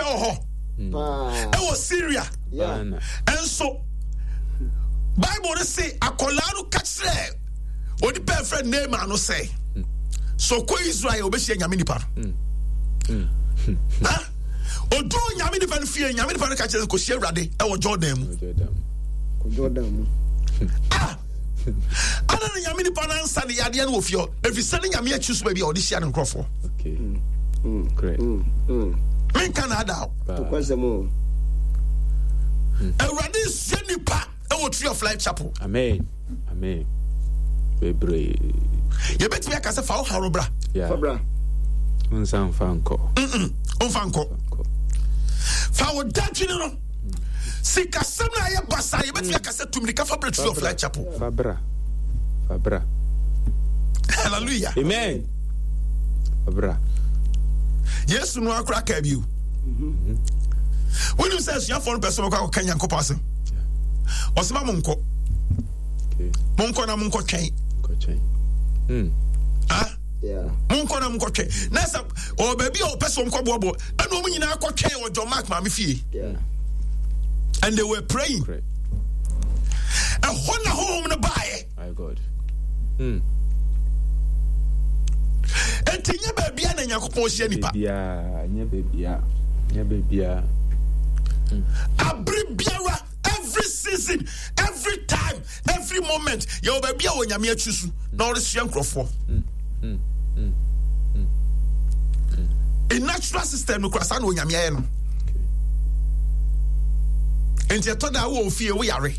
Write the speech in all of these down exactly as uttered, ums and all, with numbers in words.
Ɛwɔ hɔ. Ɛwɔ Syria. Ɛnso Bible no se akwadaa no ka kyerɛ onipa ɛfrɛ Naaman no sɛ so kɔ Israel obɛhyia Nyame nipa no. Oduu Nyame nipa no fie, Nyame nipa no ka kyerɛ sɛ kɔhyia Awurade ɛwɔ Jordan mu. Jordan mu. Ah! Ana na Nyame nipa no ansa ne yadeɛ no wɔ fie hɔ, ɛfiri sɛ ne Nyame akyi so baabi a ɔde hyia ne nkurɔfoɔ. Menka na ada o. Awurade nhyia nipa ɛwɔ Tree of Life Chapel. Amen. Amen. Bebree. Yɛbɛtumi aka sɛ fa wo haw no bra. Fa bra. Nsa nfa nkɔ. Nfa nkɔ. Fa wo dadwene no. Sikasɛm no ayɛ basa, yɛbɛtumi aka sɛ tumirika fa bra Tree of Life Chapel. Fa bra. Fa bra. Hallelujah. Amen. Fa bra. Yesu no akora kaa bio. Wonim sɛ asuafoɔ no pɛ sɛ wɔkɔ akɔka Nyankopɔn asɛm. Ɔsɛ ma monkɔ. Monkɔ na monkɔ twɛn. Hmm. Ah? Monkɔ na monkɔ twɛn. Na sɛ ɔwɔ baabi a ɔpɛ sɛ ɔmkɔ boaboa ɛna ɔmo nyinaa kɔ twɛn wɔ John Mark maame fie. And they were praying. Ɛhɔ na honhom no baeɛ. Hmm. Enti nyɛ baabia na Nyankopɔn hyia nipa. Nyɛ baabia. Nyɛ baabia. Abere biara, every season, every time, every moment, yɛwɔ baabi a wɔ Nyame akyi so na ɔresua nkurɔfoɔ. In natural system no kora saa na Onyame ayɛ no. Enti ɛtɔ da wɔ ofie wo yare.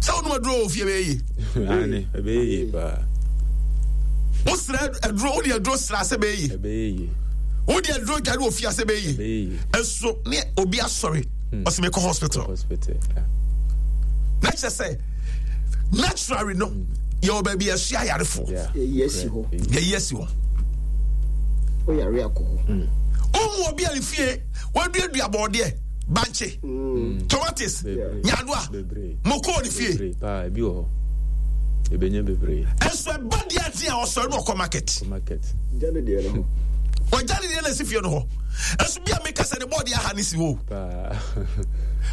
Sɛ wonom aduro wɔ ofie bɛyɛ yie. Ɛbɛyɛ yie paa. Wosrɛ aduro, wode aduro sra sɛ bɛyɛ yie. Ɛbɛyɛ yie. Wode aduro dware wɔ fie sɛ bɛyɛ yie. Ɛso ne obi asɔre ɔsɛ mekɔ hospital. Na kyerɛ sɛ naturally no yɛwɔ baabi yɛsoa ayarefoɔ. Yɛyi asi hɔ. Yɛyi asi hɔ. Woyare akɔ hɔ. Wohu obi a ne fie waduadua bɔɔdeɛ, bankye, tomatoes, nyadoa, moko ne fie. Ebi wɔ hɔ. Ebenya bebree. Ɛnso ɛba deɛ ate a ɔsɔre no ɔkɔ market. Market. Gya ne deɛ no hɔ. Ɔgya ne deɛ na esi fie no hɔ. Ɛnso bi a meka sɛ ne bɔɔdeɛ aha ne si hɔ.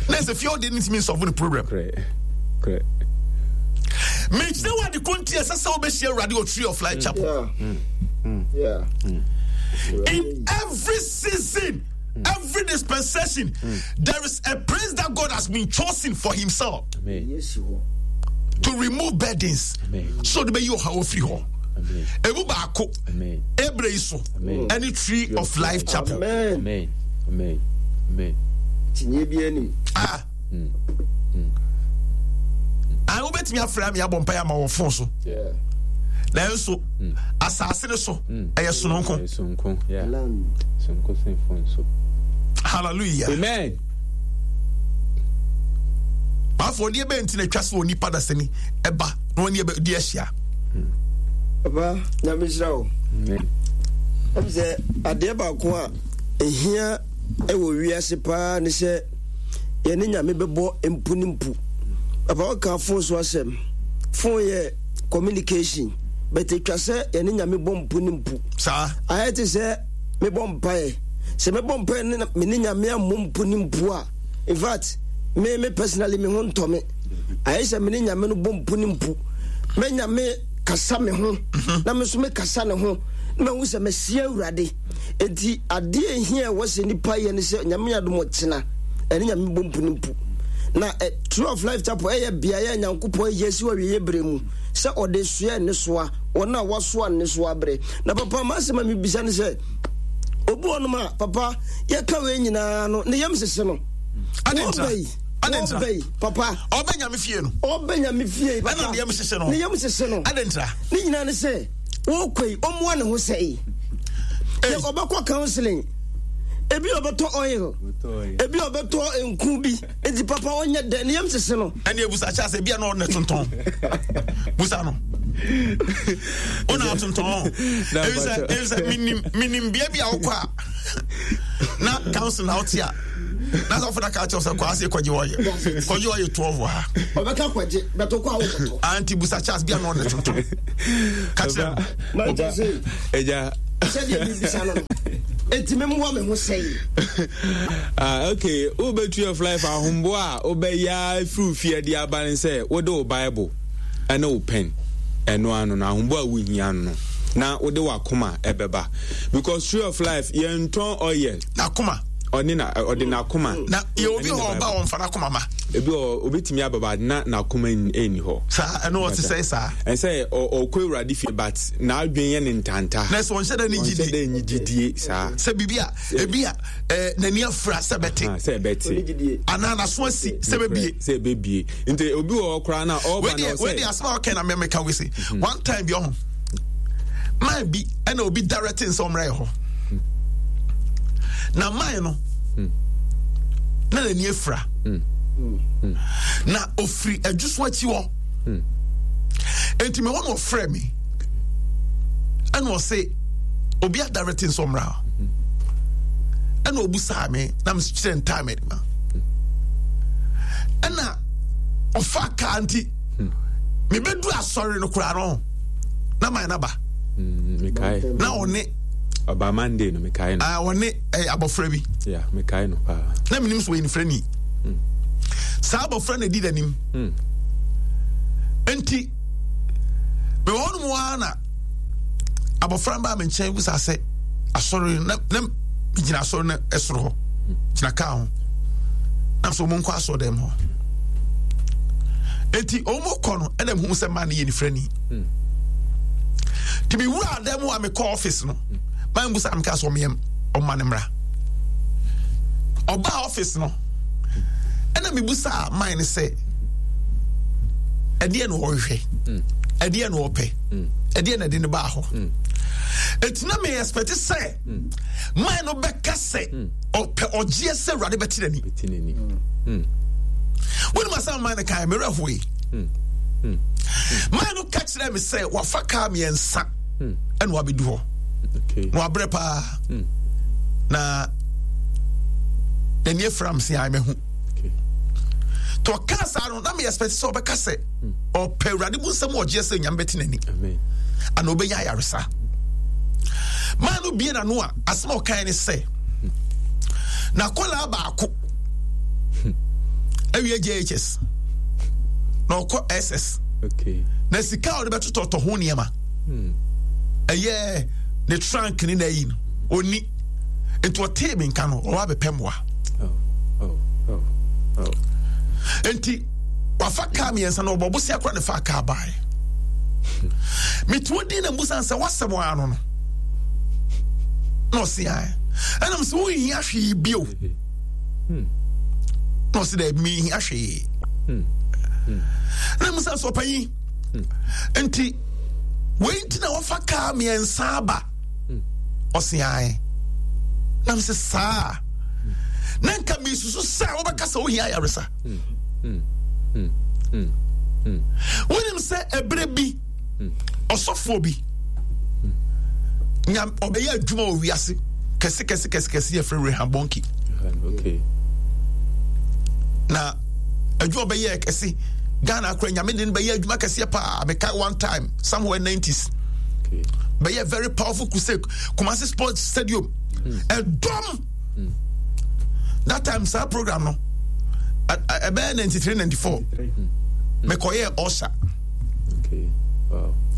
Na ɛsɛ fie ɔdeɛ ne ntumi nsɔfo ne problem. Korɛ. Mekyerɛ wo ade ko nti ɛsɛ sɛ wobɛhyia Awurade wɔ Tree of Life Chapel. Yeah. Mm. Yeah. Mm. In every season, mm. every dispensation, mm. there is a place that God has been chosen for himself. Amen. To remove burdens. Amen. So the you have free hɔ. Emu baako. Ebre yi so. Ɛne Tree of Life Chapel. Amen. Amen. Amen. Amen. Tinye bi anim. Ah. Mm. Mm. Ah, wobɛtumi afrɛ me abɔ mpaeɛ ama wɔ fon so. Nanso asase no so ɛyɛ sononko. Sononko. Yeah. Sononko sen fon so. Hallelujah. Amen. Afɔdeɛ bɛn nti na atwa sɛ onipa dasani ɛba na wɔne ɛbɛdi ahyia? Papa, Nyame nhyira wo. Ɛm sɛ adeɛ baako a ɛhia ɛwɔ wiase paa ne sɛ yɛne Nyame bɛbɔ mpu ne mpu. Papa, woka fon so asɛm. Fon yɛ communication, but ɛtwa sɛ yɛne Nyame bɔ mpu ne mpu. Saa. Ayɛ te sɛ mebɔ mpaeɛ. Sɛ mebɔ mpaeɛ ne me ne Nyame ammɔ mpu ne mpu a, in fact, me me personally me ho ntɔ me. Ayɛ sɛ me ne Nyame no bɔ mpu ne mpu. Mɛ Nyame kasa me ho, na me nso me kasa ne ho, na mahu sɛ masia Awurade. Enti adeɛ a ɛhia a ɛwɔ sɛ nipa yɛ ne sɛ Nyame adom ɔkyena ɛne Nyame bɔ mpu ne mpu. Na eh, Tree of Life Chapel ɛyɛ beaeɛ a Nyankopɔn ayi asi hɔ awieeɛ berɛ mu sɛ ɔde soɛ nnesoa wɔn a wɔasoa nnesoa berɛ. Na papa, m'asɛm a mebisa ne sɛ, obi wɔ nom a papa yɛka wei nyinaa no ne yam hyehye no. Adɛn Wɔba yi, wɔba yi, papa. Ɔbɛ Nyame fie no. Ɔbɛ Nyame fie papa. Ɛna ne yam hyehye no. Ne yam hyehye no. Adɛn ntira? Ne nyinaa ne sɛ wɔkɔ yi ɔmmoa ne ho sɛe. Yɛ ɔbɛkɔ counseling, ebi ɔbɛtɔ oil, ebi ɔbɛtɔ nku bi. Eti papa ɔnyɛ dɛ ne yam hyehye no. Ɛne ebusa kyɛ asɛ bia na ɔne tontɔn. Busa no. Ɔna atontɔn. Ebi sɛ ebi sɛ minim minim bea bi a wokɔ a na council na wote a na sɔfo na ka kyerɛ sɛ kɔ ase kɔgye ɔyɛ kɔgye ɔyɛ twelve wɔ ha. Ɔbɛka kɔgye bɛtɔ kɔ a wokɔtɔ. Anti busa Charles bia na ɔne tontɔn. Ka kyerɛ no. Ɛgya. Ɛgya. Sɛdeɛ bibisa no no. Enti memmoa me ho sɛn? Ah, okay. Wobɛ Tree of Life ahomboa a wobɛyɛ afiri fie de aba ne sɛ wode wo Bible ɛne wo pen ɛno ano no ahomboa a wohia no na wode w'akoma ɛbɛba because Tree of Life yɛntɔn oil. N'akoma. Ɔne na ɔde n'akoma. Na yɛ obi hɔ ɔba wɔn fa n'akoma ma. Ebi wɔ obi tumi aba ba na n'akoma ɛnni hɔ. Saa ɛno ɔte sɛ saa. Ɛsɛ ɔkɔ Awurade fie but n'adwene yɛ ne ntanta. Na sɛ ɔnhyɛ dɛ ne gyidie. Ɔnhyɛ dɛ ne gyidie saa. Sɛ biribi a ebi a ɛɛ n'ani afura sɛ bɛte. Sɛ bɛte. Anaa n'aso asi sɛ bɛbie. Sɛ bɛbie nti obi wɔ hɔ koraa na ɔba na ɔsɛ. Wei deɛ asɛm a ɔkɛ na mɛmɛka wei se one time bi ɔho man bi ɛna obi directing sɛ ɔmmerɛ yɛ hɔ na man no na n'ani afura na ofiri adwuso akyi hɔ nti mewɔ na ɔfrɛ me ɛna ɔse obi adarete nso mmra ɛna obusaa me na mekyerɛ ntaa me ma ɛna ɔfa kaa nti mebɛdu asɔre no koraa no na man no aba na ɔne ɔba Monday no mekae no. Ah, ɔne eh, abɔfra bi. Yeah, mekae no paa. Na menim so wɔyɛ nifrani. Mm. Saa abɔfra na ɛdi n'anim. Mm. Nti, mewɔ hɔ nom ara na abɔfra no baa me nkyɛn bisa sɛ asɔre na na gyina asɔre no ɛsoro hɔ gyina kaa ho na so wɔn nkɔ asɔre dɛm hɔ nti wɔn kɔ no ɛna mehu sɛ maa no yɛ nifrani. Mm. Nti mewura dan mu a mekɔ office no maa mbusa meka sɛ ɔmeyɛ ɔma no mmra ɔbaa office no ɛna mebusa man no sɛ ɛdeɛ na ɔhwehwɛ ɛdeɛ na ɔpɛ ɛdeɛ na ɛde no baa hɔ ɛti na me expect sɛ man no bɛka sɛ ɔpɛ ɔgyeɛ sɛ Awurade bɛte n'ani wonim asɛm man no kae merɛ hoe man no ka kyerɛ me sɛ wafa kaa mmiɛnsa ɛna wabɛdu hɔ na wabrɛ paa na n'ani afira m sɛ mahu nti ɔkaa saa no na me expect sɛ ɔbɛka sɛ ɔpɛ Awurade mu nsɛm ɔgyeɛ sɛ Nyame bɛte n'ani ana ɔbɛnya ayaresa maa no bie n'ano a asɛm a ɔkae ne sɛ na kɔlaa baako awie J H S na ɔkɔ S S na sika a ɔde bɛtotɔtɔ ho nneɛma ɛyɛ ne trunk ne n'ayi no ɔni nti ɔtee me nka no ɔwɔ abɛpɛ mmoa nti wafa kaa mmiɛnsa na ɔbɔ bosia kora ne fa kaa baeɛ metuo din na mbusa sɛ wasɛm ano no na ɔse ae ɛnam sɛ wonhia hwee bio na ɔse dɛ menhia hwee na mbusa sɛ ɔpanyin nti wei nti na wafa kaa mmiɛnsa aba ɔse ae nam sɛ saa na nka mesusu sɛ wobɛka sɛ wohia ayaresa wonim sɛ ɛberɛ bi ɔsɔfoɔ bi nya ɔbɛyɛ adwuma wɔ wiase kɛse kɛse kɛse kɛse yɛfrɛ Reinhard Bonnke na adwuma ɔbɛyɛ kɛse Ghana akora nyame de no bɛyɛ adwuma kɛseɛ paa mekae one time somewhere nineties bɛyɛ very powerful crusade Kumasi Sports Stadium ɛdɔm that time saa program no ɛbɛyɛ ninety three ninety four mekɔyɛ ɔsa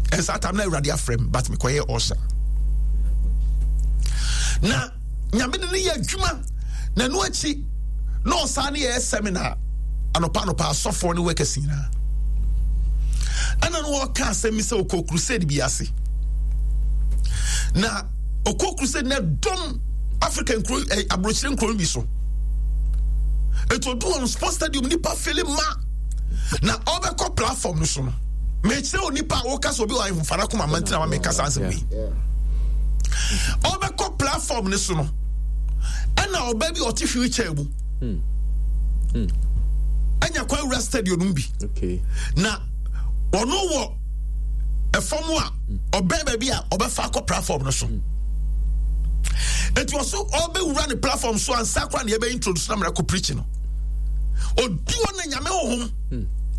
ɛnsa time na Awurade afrɛ m but mekɔyɛ ɔsa na nyame de no yɛ adwuma na ɛno akyi na ɔsan ne yɛ seminar anɔpa anɔpa asɔfoɔ ne workers nyinaa ɛna no wɔka asɛm mi sɛ ɔkɔ crusade bi ase na ɔkɔ crusade na dɔm Africa nkuro eh, aburokyire nkuro bi so etu odu wɔn sports stadium nipa fili ma na ɔbɛkɔ platform no so no mɛkyerɛ onipa a wɔka sɛ obi wɔ ahemfara koma mantina ma mɛka saa asɛm yi ɔbɛkɔ platform no so no ɛna ɔbɛ bi ɔte wheelchair mu ɛnya kwan wura stadium no bi na ɔno wɔ ɛfam a ɔbɛn baabi a ɔbɛfa akɔ platform no so eti ɔso ɔbɛwura ne platform so ansa kora na yɛbɛ introduce na mmerɛ kɔ preach no oduo na nyame honhom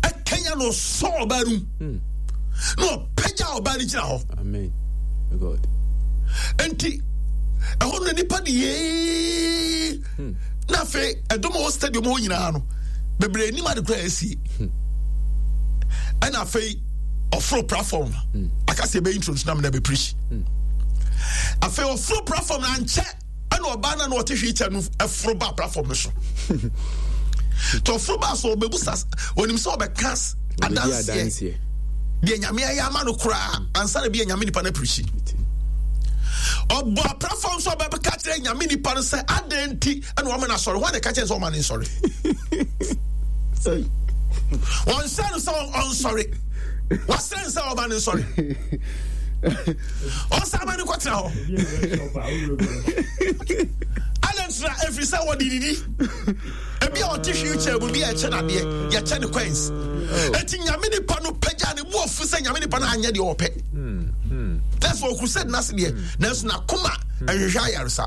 ɛkanya na ɔsɔ ɔbaa no mu na ɔpɛgya ɔbaa no gyina hɔ. Nti Ɛhɔ no nipa de yee. Hmm. Na afei ɛdɔm a wɔ stadium hɔ nyinaa no bebree anim ade koraa asie. Hmm. Ɛna afei ɔforo platform hmm. aka sɛ ɛbɛyi intro na mena bɛpreach. Afei ɔforo platform na ankyɛ ɛna ɔbaa no na ɔte wheelchair no ɛforo ba platform no so. Nti ɔforo ba so ɔbɛbusa onim sɛ ɔbɛka adanseɛ deɛ Nyame ayɛ ama no koraa ansa na bi yɛ Nyame nipa no apirikyi. Ɔbɔ aprafo nso ɔbɛka kyerɛ Nyame nipa no sɛ adɛn nti ɛna ɔma no asɔre hɔ na ɛka kyerɛ sɛ ɔma no nsɔre. Ɔnsɛ no sɛ ɔnsɔre, wasrɛ no sɛ ɔma no nsɔre, ɔnsa ma no kɔtena hɔ. Adɛn nti na? Ɛfiri sɛ wɔde didi ebi a ɔte wheelchair mu bi a ɛkyɛ n'adeɛ yɛkyɛ ne coins. Eti Nyame nipa no pagya ne bu afu sɛ Nyame nipa no anyɛ deɛ ɔpɛ. That's why crusade n'ase deɛ nanso n'akoma ɛhwehwɛ ayaresa.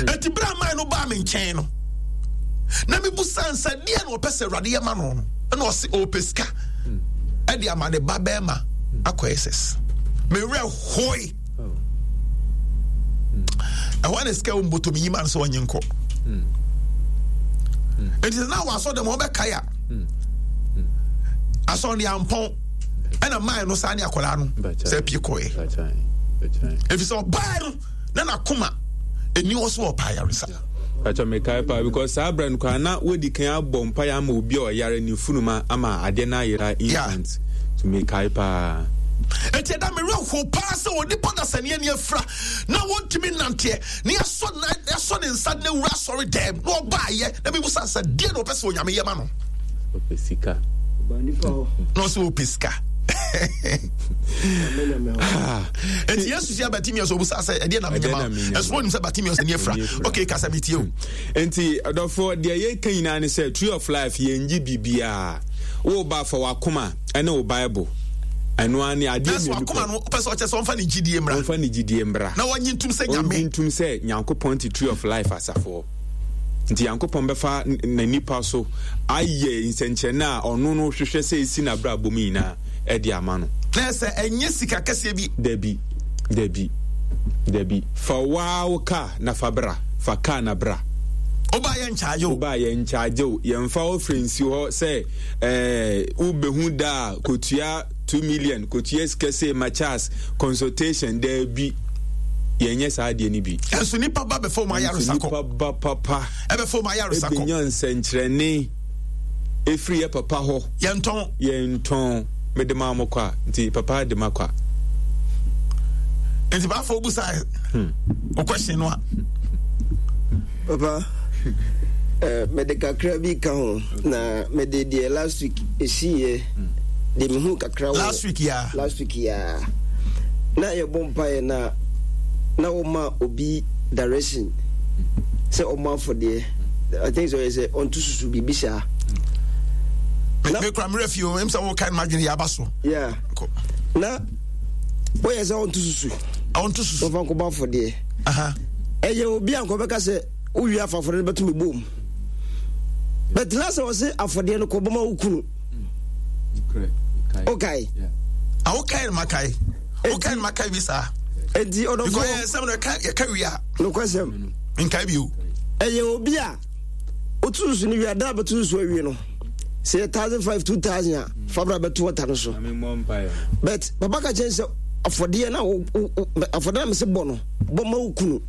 Eti bere a man no baa me nkyɛn no na mi bu sansa deɛ na ɔpɛ sɛ Awurade yɛ ma no no ɛna ɔse ɔpɛ sika ɛde ama ne ba bɛrima akɔ S S. Me werɛ hoe. Ɛhɔ na sika wɔ mbɔtɔ mi yi ma no sɛ ɔnye nkɔ. Nti sɛ na wɔ asɔ dɛm ɔbɛkae a asɔ de ampɔn ɛna man no saa ne akwadaa no sɛ pie kɔɛ ɛfiri sɛ ɔbaa no na n'akoma ɛni hɔ so ɔpa ayaresa. Pacho, mekae paa because saa berɛ no koraa na wodi kan abɔ mpaeɛ ama obi a ɔyare ne funuma ama adeɛ no ayera instant. So mekae paa. Enti ɛda me werɛ how paa sɛ onipa dasani ani afira na wɔntumi nnanteɛ na yɛasɔ na yɛasɔ ne nsa na awura asɔre dɛm na ɔbaayɛ na mebusa sɛ deɛ na ɔpɛ sɛ Onyame yɛ ma no. Ɔpɛ sika. Na ɔsɛ ɔpɛ sika. Enti Yesu hyia Bartimeus, ɔbusa sɛ ɛdeɛ na menyɛ ma ɛso ɔnim sɛ Bartimeus ani afira. Okay, kasa metie o. Enti ɔdɔfoɔ, deɛ yɛka nyinaa ne sɛ Tree of Life yɛngye biribiaa. Woba fa w'akoma ɛne wo Bible, ɛno ara ne adeɛ mmienu pɛ. Wakoma no wopɛ sɛ ɔkyɛ sɛ ɔmfa ne gyidie mmra. Ɔmfa ne gyidie mmra na wɔnye ntom sɛ Nyame, ɔnye ntom sɛ Nyankopɔn te Tree of Life asafoɔ. Nti Nyankopɔn bɛfa na nipa so ayɛ nsɛnkyerɛnne a ɔno no hwehwɛ sɛ esi n'abrabɔ mu nyinaa ɛde ama no. Na sɛ ɛnyɛ sika kɛseɛ bi. Dabi, dabi, dabi. Fa waa wo kaa na fa bra. Fa kaa na bra. Woba yɛ nkyagye o. Woba yɛ nkyagye o. Yɛmfa wo firi nsi hɔ sɛ ɛɛ wobɛhu da a kotua two million, kotua sika sei ma Charles consultation, daabi. Yɛnyɛ saa adeɛ no bi. Ɛnso nipa ba bɛfɛ wɔn ayaresa kɔ. Nipa ba papa. Ɛbɛfɛ wɔn ayaresa kɔ. Ebenya nsɛnkyerɛnne efiri yɛ papa hɔ. Yɛntɔn. Yɛntɔn. Mede maa mo kɔ a, nti papa de ma kɔ a. Nti baafo obusa hmm. o question no a. Papa, eh, mede kakra bi ka ho na mede deɛ last week ɛsiiɛ de mehu kakra wɔ last week ya. Last week ya na yɛbɔ mpaeɛ na na wɔma obi direction sɛ ɔmmɔ afɔdeɛ. I think sɛ ɔyɛ sɛ ɔnto susu biribi saa. Na mekura mmerɛ fie o ɛm sɛ wokae no madwene yɛ aba so. Yeah, na woyɛ sɛ ɔnto susu, ɔnto susu ɔfa nkɔbɔ afɔdeɛ. Ɛyɛ obi a nkɔbɛka sɛ wowie afa afɔdeɛ no bɛto me bom, but na sɛ ɔse afɔdeɛ no kɔbɔ ma wo kunu. Wokae? Wokae no makae, wokae no makae bi saa. Enti ɔdɔfoɔ, because yɛ nsɛm no yɛka wie a nokwasɛm nkae bio. Ɛyɛ obi a wotu susu no wie a, da a bɛto susu awie no, sɛ yɛ thousand five, two thousand a, fa bra bɛto ɔta no so. But papa ka kyɛn sɛ afɔdeɛ na afɔdeɛ na mese bɔ no, bɔ ma wo kunu.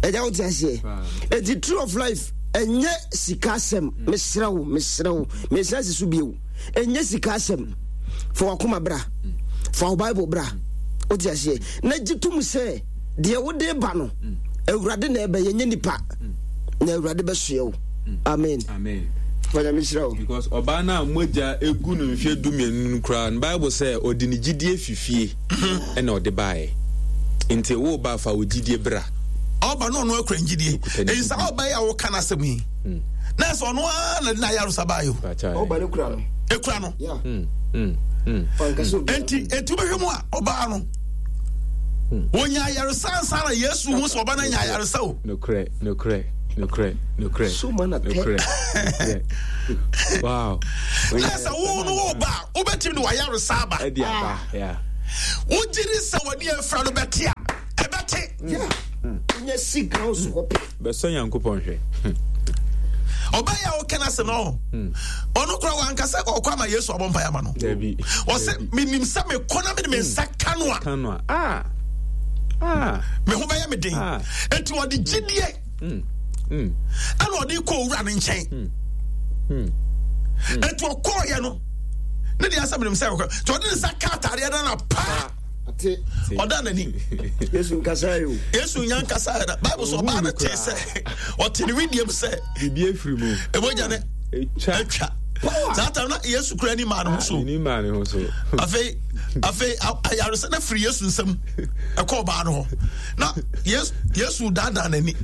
Ɛgya wote aseɛ? Enti Tree of Life ɛnyɛ sika asɛm. Mesrɛ wo, mesrɛ wo, mesrɛ si so bio, ɛnyɛ sika asɛm. Fa wakoma bra, fa wo Bible bra, wote aseɛ, na gye tom sɛ deɛ wode ba no Awurade na ɛbɛyɛ, nyɛ nipa, na Awurade bɛsoɛ wo. Amen. Amen. Fanyame hyira wo. Because ɔbaa no a mogya egu no mfeɛ du mmienu no koraa no, Bible sɛ ɔde ne gyidie fi fie ɛna ɔde baeɛ. Nti wo ba, fa wo gyidie bra. Ɔba no ɔno akura ngyidie. Ɛyi saa ɔba yi a wɔka n'asɛm yi na ɛsɛ ɔno ara na de n'ayaresa baeɛ o. Ɔba no kura no. Ekura no. Nti eti wobɛhwɛ mu a ɔbaa no wɔnya ayaresa ansa na Yesu hu sɛ ɔba no anya ayaresa o. Nokorɛ, nokorɛ, nokorɛ, nokorɛ. So mana tɛ. Nokorɛ, nokorɛ. Wow. Na sɛ wo no wo ba a wobɛtumi de wayaresa aba. Ɛde aba, yeah. Wogye di sɛ w'ani afira no bɛte a, ɛbɛte. Wonya si ground so hɔ pɛ. Bɛsɔ Nyankopɔn hwɛ. Ɔbɛyɛ a woka no asɛm no, ɔno koraa wanka sɛ ɔkɔ ama Yesu abɔ mpaeɛ ama no. Ɔsɛ menim sɛ mekɔ na mede me nsa ka no a, ah. Ah. me ho bɛyɛ me den. Ah. Enti ɔde gyidie ɛna ɔde kɔ owura no nkyɛn. Enti ɔkɔɔyɛ no ne deɛ asɛ menim sɛ ɔkɔ nti ɔde ne nsa ka ataadeɛ no na paa ɔda n'ani. Yesu nkasa yi o. Yesu nya nkasa yɛ na Bible sɛ ɔbaa no tee sɛ ɔte ne widiem sɛ biribi afiri mu. Ebogya ne atwa. Saa tam na Yesu kura ni maa ne ho so. Ni maa ne ho so. Afei afei ayaresa na firi Yesu nsam ɛkɔ ɔbaa no hɔ na Yesu Yesu daadaa n'ani.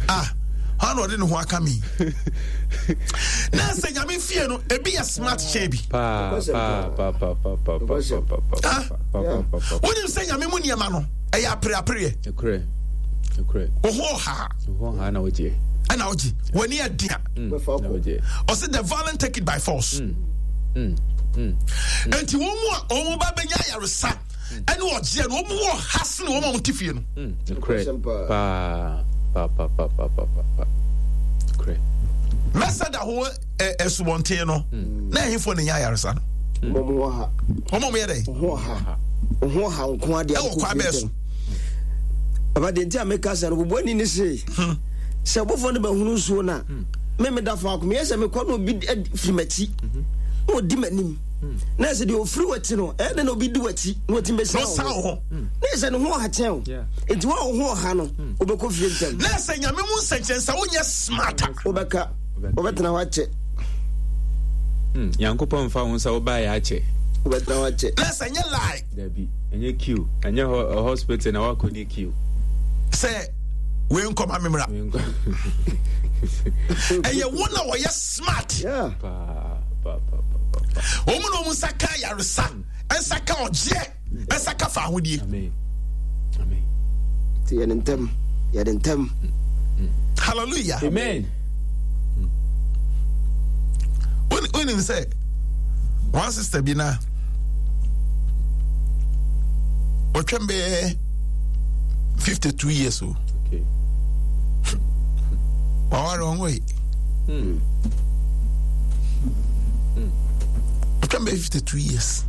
Ah. Hɔ na ɔde ne ho aka mi. Na sɛ Nyame fie no ebi yɛ smart kyɛn bi. Wonim sɛ Nyame mu nneɛma no ɛyɛ apereapereɛ. Wo ho ɔha ɛna wogye w'ani ɛden a ɔsɛ the violent take it by force. Enti wɔn mu a wɔn ba bɛnya ayaresa ɛne ɔgyeɛ no wɔn wɔ ha sene wɔn a wɔte fie no. Mɛsɛda ho asubɔnten no na ɛhefoɔ na ɛnya ayaresa no. Wɔn a wɔyɛ dɛ. Ho ha nko adeɛ ɛwɔ kwan bɛɛ so. Papa deɛ nti a meka sɛ no bobɔ ani ne se sɛ ɔbɔfoɔ no bɛhunu nsuo no a me meda faako meyɛ sɛ mekɔ na obi firi m'akyi na ɔdi m'anim na ɛsɛ deɛ ɔfiri w'akyi no ɛyɛ dɛ na obi di w'akyi na ɔtumi bɛsia wo ho na ɛsɛ ne ho ɔha kyɛn o nti wo a wo ho ɔha no wobɛkɔ fie ntɛm. Na ɛsɛ Nyame mu nsɛnkyerɛnne sɛ wonyɛ smart a wobɛka wobɛtena hɔ akyɛ. Nyankopɔn mfa wo nsa wobaeɛ akyɛ. Wobɛtena hɔ akyɛ. Na ɛsɛ nyɛ lie. Dabi, ɛnyɛ queue, ɛnyɛ hospital na wakɔ ni queue. Sɛ wei nkɔma me mmra. Ɛyɛ wɔn a wɔyɛ smart. Wɔn na wɔn nsa ka ayaresa, nsa ka ɔgyeɛ, nsa ka fa ahodie. Ti yɛ ne ntɛm, yɛ ne ntɛm. Hallelujah. Amen. Wonim sɛ one sister bi na ɔtwɛn bɛyɛ fifty two years o. Waware ɔnwo yi. Ɔtwɛn bɛyɛ fifty two years.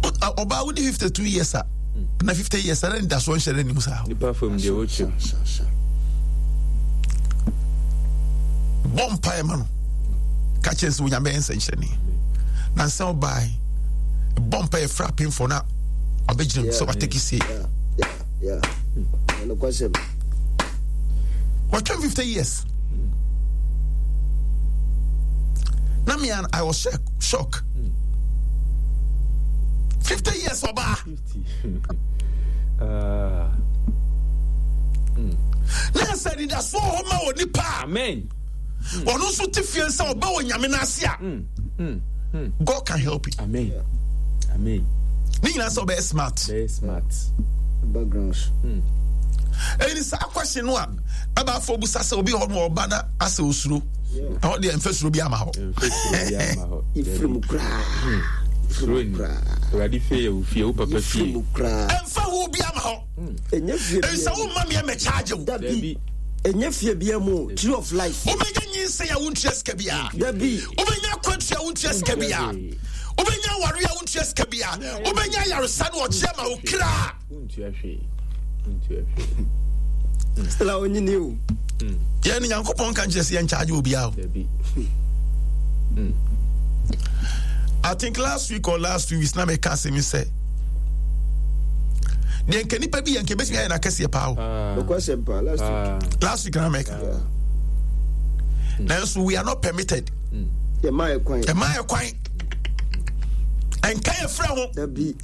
Ɔbaa wodi fifty two years a na fifty years ɛna nidasoɔ nhyɛ n'anim saa. Nipa fam deɛ wɔkyɛm. Bɔ mpaeɛ ma no ka kyerɛ sɛ Onyame bɛyɛ nsɛnkyerɛnne na nsɛm ɔbaa bɔ mpaeɛ fra apemfoɔ na ɔbɛgyina mu sɛ wataki sie. Wɔtwɛn fifty years. Na me I was shock. shock. fifty years ɔbaa. Na sɛ anidasoɔ hɔ ma wɔ nipa a. Amen. Ɔno nso te fie sɛ ɔba wɔ Nyame no ase a. God can help you. Amen. Amen. Ne nyinaa sɛ ɔbɛyɛ smart. Bɛyɛ smart. Backgrounds. Ɛni saa question no a ɛbaafo busa sɛ obi hɔ no ɔba na asɛ osuro. Ɛhɔ deɛ mfɛ suro bi ama hɔ. Mfɛ suro bi ama hɔ. Ifiri mu koraa. Suro ni. Awurade fie yɛ wo fie, wo papa fie. Ifiri mu koraa. Ɛmfa ho bi ama hɔ. Ɛnyɛ fie bi. Ɛsɛ wo mma meɛ mɛ charge wo. Dabi. Ɛnyɛ fie bi mu. Tree of life. Wobɛnya nyinsɛn a wontua sika biara. Dabi. Wobɛnya akwantua a wontua sika biara. Wobɛnya aware a wontua sika biara. Wobɛnya ayaresa no ɔgye ama wo kra. Wontua hwee. Wontua hwee. Still a onyini o. Yɛn ne Nyankopɔn ka nkyerɛ sɛ yɛn charge obiara o. Dabi. I think last week or last two weeks na meka asɛm yi sɛ deɛ nka nipa bi yɛ nka ebɛtumi ayɛ no akɛseɛ paa o. Nokwasɛm paa last week. Last week na meka. Nanso we are not permitted. Yɛma yɛ kwan. Ɛma yɛ kwan. Ɛnka yɛ frɛ ho. Dabi.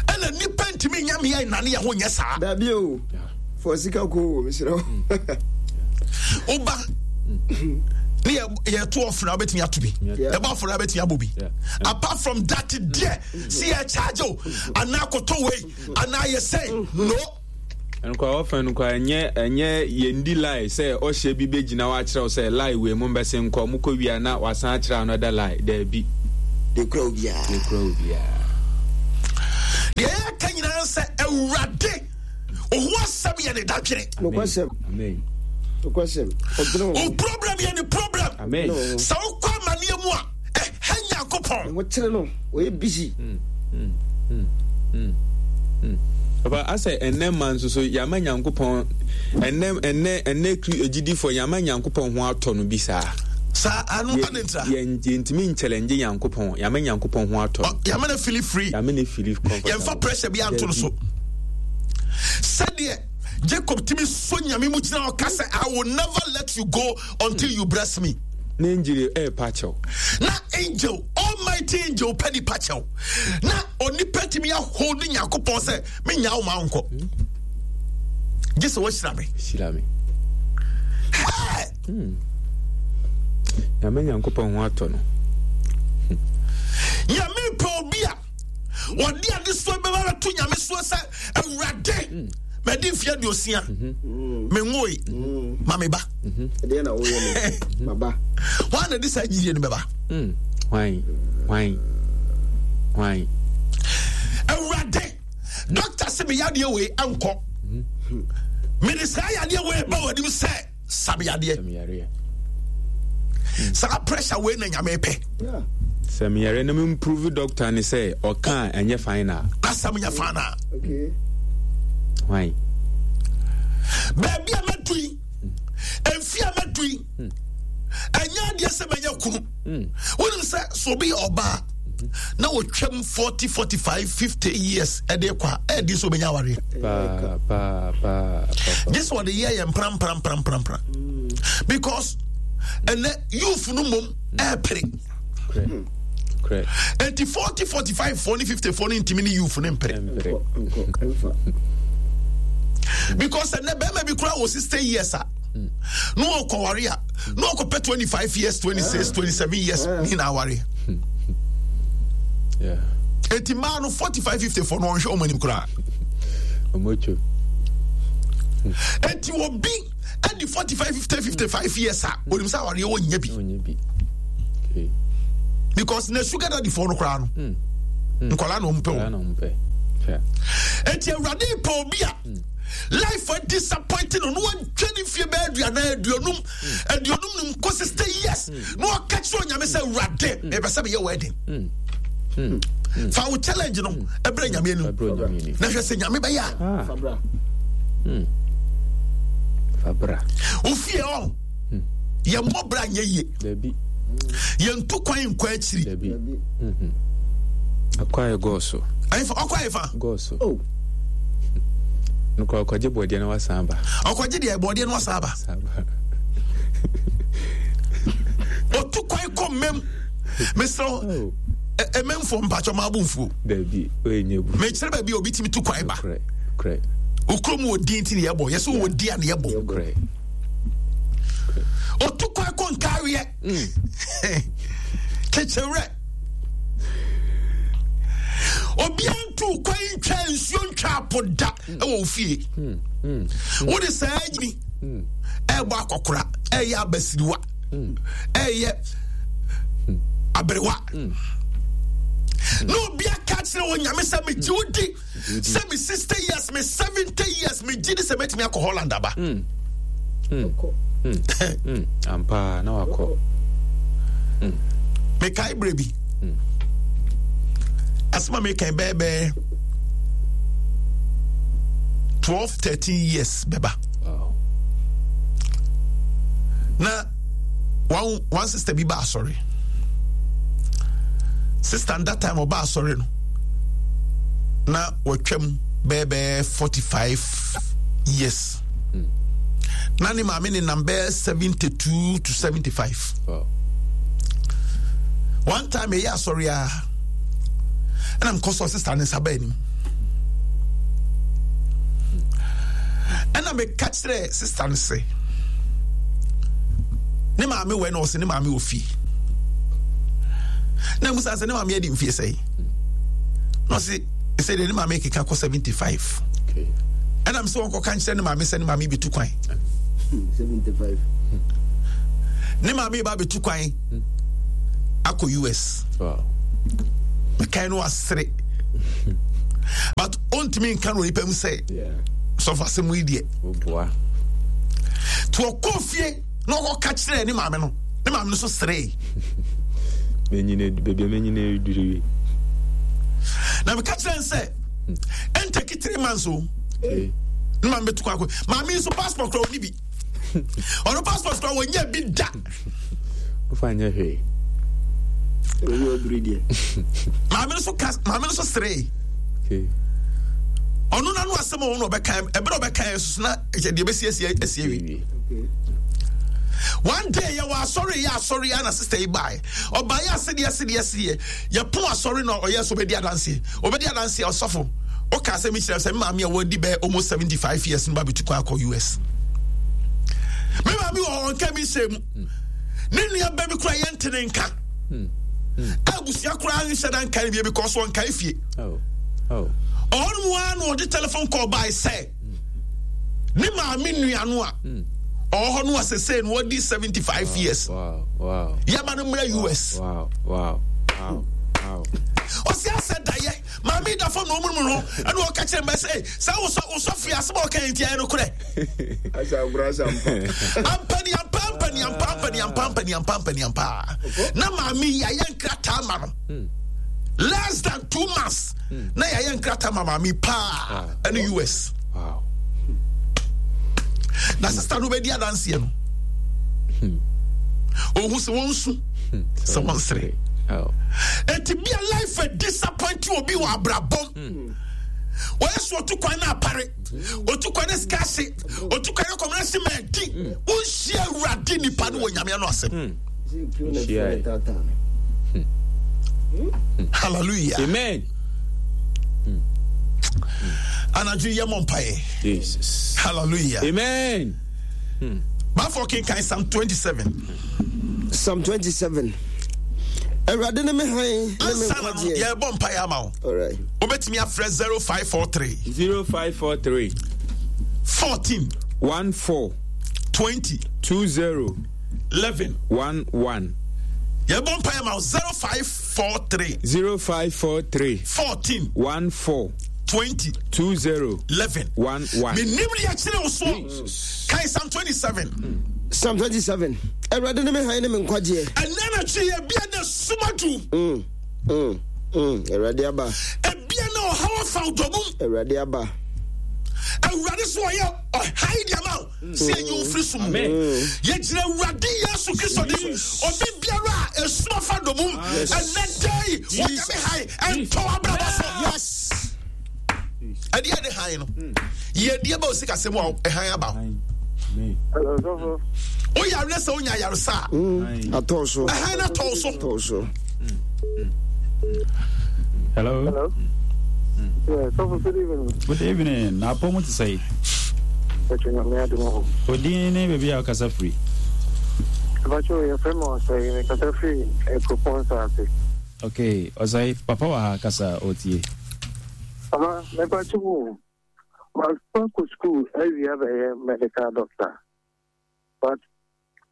Ɛna nipa ntumi nya meyɛ nnane yɛ ho nyɛ saa. Dabi o. Fɔ sika ko o mesrɛ wo. Woba ne yɛto ɔfra wobɛtumi ato bi ɛbɔ afɔre wobɛtumi abɔ bi apart from that deɛ si yɛ charge o anaa koto wei anaa yɛ sɛ no. Nkwa ɔfɛn no kwa ɛnyɛ ɛnyɛ yɛndi lie sɛ ɔhyɛ bi bɛgyina hɔ akyerɛ wo sɛ lie wei mo mbɛse nkɔ mo kɔ wia na wasan akyerɛ another lie daabi. Deɛ kura obiara. Deɛ kura obiara. Deɛ yɛka nyinaa sɛ Awurade ɔho asɛm yɛ ne dadwene. Nokwasɛm. Amen. Nokwasɛm. Ɔdwene Wo ho. problem yɛ ne problem. Amen. Sɛ wokɔ amanneɛ mu a ɛhɛ Nyankopɔn. Ne ho kyere no. Ɔyɛ busy. Papa asɛ ɛnɛ ma nso so yɛama Nyankopɔn ɛnɛ ɛnɛ ɛnɛ kri agyidifoɔ yɛama Nyankopɔn ho atɔ no bi saa. Saa ano ade ntra. Yɛn yɛntumi nkyɛlɛngye Nyankopɔn, yɛama Nyankopɔn ho atɔ no. Ɔ- Yɛama no feel free. Yɛama no feel comfortable. Yɛmfa pressure bi anto no so. Sɛdeɛ Jacob tumi so Nyame mu gyina ɔka sɛ I will never let you go until you bless me. Na angel ɛɛpa kyɛw. Na angel, almighty angel pɛ nipa kyɛw. Na onipa tumi ahold Nyankopɔn sɛ menya wo ma wonkɔ. Gye sɛ woahyira me. Hyira me. Hey! Yɛama Nyankopɔn ho atɔ no. Nyame pɛ obi a wɔde adesoa bɛba bɛto Nyame soɔ sɛ Awurade madi mfeɛ aduosia menwoe ma me ba. Ɛdeɛ na woyɛ no. Maba. Hwan na de saa gyidie no bɛba? Mm. Hwan? Hwan? Hwan? Awurade dɔkta sɛ me yadeɛ wei ankɔ. Mede saa yadeɛ wei ba w'anim sɛ sa me yadeɛ. Sɛ meyareɛ. Saa pressure wei na Nyame pɛ. Yeah. Sɛ meyare na memprove doctor ne sɛ ɔka a ɛnyɛ final. Asɛm nyɛ fa na. Okay. Hwan? Baabi a mɛdu yi, mfe a mɛdu yi, ɛnyɛ adeɛ sɛ mɛnyɛ kunu. Wonim sɛ sɛ obi yɛ ɔbaa na wɔtwam forty, forty-five, fifty years ɛde kɔ a, ɛyɛ den sɛ obɛnya awareɛ. Paa paa paa. Gye sɛ ɔde yɛ yɛ mpra mpra mpra mpra mpra. Because ɛnɛ youth no mmom ɛɛpere. Korɛ. Korɛ. Enti forty, forty-five foɔ ne fifty foɔ no ntumi ne youth no mpere. Ɛmpere. Nkɔ. Ɛmfa. Because ɛnɛ bɛrima bi koraa wɔ sixty years a na ɔkɔware a na ɔkɔpɛ twenty-five years, twenty-six, twenty-seven years ne na aware. Yeah. Enti mmaa no forty-five, fifty foɔ no ɔnhwɛ wɔn anim koraa. Ɔmo atwam. Enti obi ɛdi forty-five, fifty, fifty-five years a onim sɛ awareɛ wɔ nya bi. Ɔnyɛ bi. Okay. Because na sugar daddy foɔ no koraa no nkwadaa na wɔn pɛ Saa wɔn. na ɔmo pɛ. Hwɛ. Enti Awurade pɛ obi a life a disappointing no na wadwa ne fie bɛyɛ aduanan aduonum aduonum num kɔ sixty years na ɔka kyerɛ Onyame sɛ Awurade mepɛ sɛ meyɛ wedding. Fa wo challenge no ɛbrɛ Nyame anim Ɛbrɛ Onyame anim. na hwɛ sɛ Nyame bɛyɛ a. Ah. Fabra. Fabra. Wo fie ɔ yɛmmɔ bra nyɛ yie. Dabi. Yɛntu kwan nkɔ akyiri. Dabi. Dabi. Akɔ ayɛ gɔɔso. Ɛnfa ɔkɔ ayɛ fa. Gɔɔso. Oh. Nokora ɔkɔgye bɔdeɛ na wasan aba. Ɔkɔgye deɛ bɔdeɛ no wasan aba. San aba. Otu kwan kɔ mmɛm. Mesrɛ Oh. ɛmɛmfoɔ mpakyɛ ɔmo abo mfuo. Dabi. Oye nye bu. Mekyerɛ baabi a obi tumi tu kwan ba. Korɛ. Korɛ. Okurom wɔ din ti ne yɛbɔ. Yɛsɛ wɔ di a ne yɛbɔ. Korɛ. Otu kwan kɔ nkaareɛ. Kyekyerɛ. Obiara ntu kwan ntwa nsuo ntwa apo da ɛwɔ ofie. Wode saa nyini ɛbɔ akɔkora ɛyɛ abasiriwa ɛyɛ aberewa. Na obi aka kyerɛ wɔ Nyame sɛ megye wo di sɛ me sixty years me seventy years megye di sɛ mɛtumi akɔ Holland aba. Ɔkɔ. Ampa na wakɔ. Mekae berɛ bi asɛm a mekan bɛɛbɛɛ twelve thirteen years bɛba. Wow. Na one one sister bi ba asɔre. Sister that time ɔba asɔre no na wɔtwam bɛɛbɛɛ forty-five years. Na ne maame ne nam bɛɛ seventy-two to seventy-five. Wow. One time ɛyɛ asɔre a ɛna mekɔ sɔ sister ne nsa baa anim. Ɛna meka kyerɛ sister no sɛ ne maame wɔ na ɔsɛ ne maame wɔ fie. Na musa sɛ ne maame adi mfie sɛn? Na ɔse sɛ deɛ ne maame keka kɔ seventy-five. Okay. Ɛna m sɛ wɔnkɔka nkyerɛ ne maame sɛ ne maame bɛtu kwan. seventy-five. Ne maame ba bɛtu kwan akɔ U S. Wow. Mekae no asere. But ɔntumi nka no onipa mu sɛ sɔfo asɛm yi deɛ. Nti ɔkɔɔ fie na ɔkɔka kyerɛɛ ne maame no, ne maame no so seree. Na meka kyerɛ n sɛ ɛntaki three months o. Ne maame bɛtu kɔ akɔ. Maame nso passport kora ɔni bi. Ɔno passport kora wɔnyɛ bi da. Wofa nyɛ hwee. Maame no so ka maame no so seree. Ɔno n'ano asɛm a ɔno ɔbɛka ɛbɛrɛ ɔbɛka yɛ soso na ɛkyɛ deɛ bɛsi asi asi awie. One day yɛ wɔ asɔre yɛ asɔre yɛ na sister yi baa ɔbaa yɛ asedeɛ asedeɛ asedeɛ yɛ pon asɔre na ɔyɛ so ɔbɛdi adanseɛ ɔbɛdi adanseɛ ɔsɔfo ɔka asɛm yi kyerɛ sɛ maame a wɔadi bɛyɛ almost seventy five years no ba bɛtu kwan akɔ U S. Me maame wɔ hɔ ɔnka mi nhyɛ mu ne nua bɛ bi kura yɛ ntene nka abusua koraa nhyɛ da nka bie because wɔnkae fie ɔhɔ mu ara na ɔde telephone call bae sɛ ne maame nua no a ɔwɔ hɔ no a sesei no wɔdi seventy five years yɛma no mmra U S. Ɔsi asɛ dayɛ maame da fam na ɔmu mu no ɛna ɔka kyerɛ mbɛ sɛ sɛ wosɔ wosɔ fi asɛm a ɔka yɛn ti ayɛ no korɛ ampani ampa ampani ampa ampani ampa ampani ampa ampani ampa na maame yi ayɛ nkrataa ma no hmm. less than two months hmm. na yɛayɛ nkrataa ma maame paa ɛne U S na sista no bɛdi adanseɛ no hmm. Ɔhu sɛ wɔnsu sɛ wɔnsere ɛnti bia life a disappoint obi wɔ abrabɔm wɔyɛ so ɔtu kwan no apare ɔtu kwan no sika ase ɔtu kwan no kɔmena se ma adi wonhyia Awurade nipa no wɔ Nyame no asɛm. Hallelujah, amen. Anadwo yɛ mɔ mpaeɛ. Jesus. Hallelujah. Amen. Bafo kenkan Psalm twenty-seven. Psalm twenty-seven. Awurade ne me hann ne me ansa na no nkwagyeɛ. Yɛbɔ mpaeɛ ama wo. Alright. Wobɛtumi afrɛ zero five four three zero five four three fourteen one four twenty two zero eleven one one. Yɛbɔ mpaeɛ ma wo zero five four three zero five four three fourteen one four twenty two zero eleven one one. Menim deɛ kyerɛ wo soɔ. Kae Psalm twenty-seven. Psalm twenty-seven. Awurade ne me hann ne me nkwagyeɛ. Ɛnɛ na kyi ebia na sumadu. Mm, mm, mm. Awurade aba. Ebia na ɔhaw afa wo dɔmum. Awurade aba. Awurade so ɔyɛ ɔhae deɛ ma wo sɛ ɛyi wo firi so mu. Yɛgyina Awurade Yesu Kristo de obi biara a ɛsum afa dɔmum ɛnɛ dai wɔnyame hae ɛntɔ abrabɔ so. Yes. Ɛdeɛ de han no yɛdeɛ ba osi kasɛm a ɛhan aba wo. Hello, sɔfo. Woyare sɛ wonya ayaresa a Mm, atɔ so. Ɛhan no atɔ wo so. Atɔ so. Hello. Hello. Yeah, sɔfo, good evening. Good evening. Na apɔ mu te sɛ? Ɛtwe Nyame adom hɔ. Odin ne baabi a wokasa firi? Ɛbɛkyɛ yɛfrɛ me Ɔsɛe, mekasa firi Kuropɔn Saase. Okay, Ɔsɛe, papa wɔ ha kasa ɔtie. Papa, mepatwe mu. Makɔ kɔ school awie abɛyɛ medical doctor. But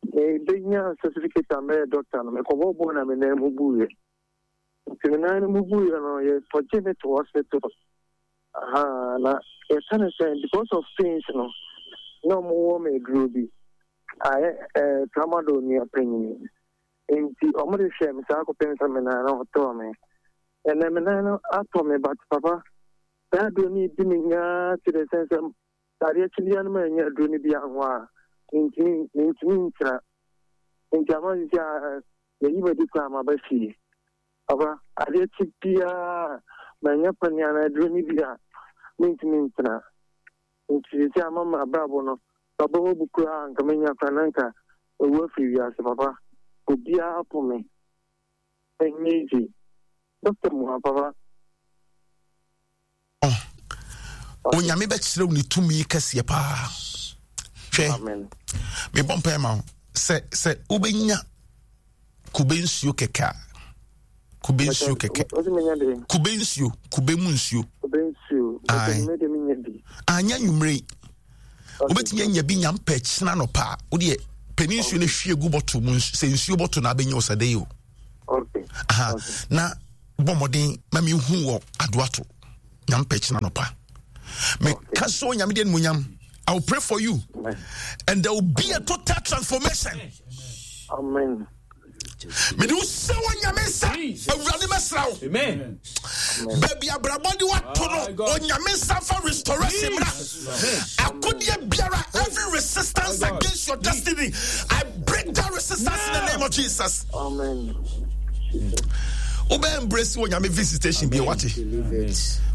mebɛnya certificate a mɛyɛ doctor no, mekɔbɔ bɔɔl na me nan mu buiɛ. Nti me nan no mu buiɛ no, yɛkɔgye me to hospital. Aha, na yɛka ne sɛ because of pains no, na ɔmowɔ me aduro bi. Ayɛ ɛɛ tramadol nua panyin. Nti ɔmo de hwɛ me saa kɔpem sɛ me nan no ɔtɔɔ me. Ɛnɛ me nan no atɔ me, but papa, saa aduro no di me nyaa to the sense sɛ adeɛ kye bia no ma ɛnyɛ aduro no bi aho a mentumi mentumi nkyerɛ. Nti ama sisi a yɛyi m'adi koraa maba fie. Papa, adeɛ kye biara manyɛ pani anaa aduro no bi a mentumi ntena. Nti sisi ama ma abrabɔ no baba mu bu koraa nka menya koraa na nka ɛwu afiri wiase. Papa, obiara po me. Ɛnyɛ easy. Doctor mu ha, papa. Onyame bɛkyerɛ wo ne tumi kɛseɛ paa. Hwɛ, Amen. Mebɔ mpae ma wo sɛ sɛ wobɛnya kube nsuo kɛkɛ a, kube nsuo kɛkɛ. Ɔsɛ menya de? Kube nsuo, kube mu nsuo. Kube nsuo. Aye. Ɔsɛ mede menya bi. Anyɛ nwummerɛ yi, wobɛtumi anya bi nya mpɛ kyena nɔpa a wodeɛ pɛni nsuo no hwie gu bɔtol mu. Nsu- sɛ nsuo bɔtol na abɛnya wo sɛ dɛ o. Okay. Aha. Okay. Na Bɔ mmɔden ma mehu wɔ Adoato. Nyame pɛ kyena nɔpa. Meka sɛ Onyame de animuonyam. I will pray for you and there will be a total transformation. Amen. Mede wo hyɛ wɔ Nyame nsa. Awurade mɛsra wo. Baabi abrabɔ de wato no, Onyame nsa fa restoration mmra. Akodeɛ biara, every resistance against your destiny, I break that resistance in the name of Jesus. Amen. Wobɛ embrace wɔ Nyame visitation bi wate.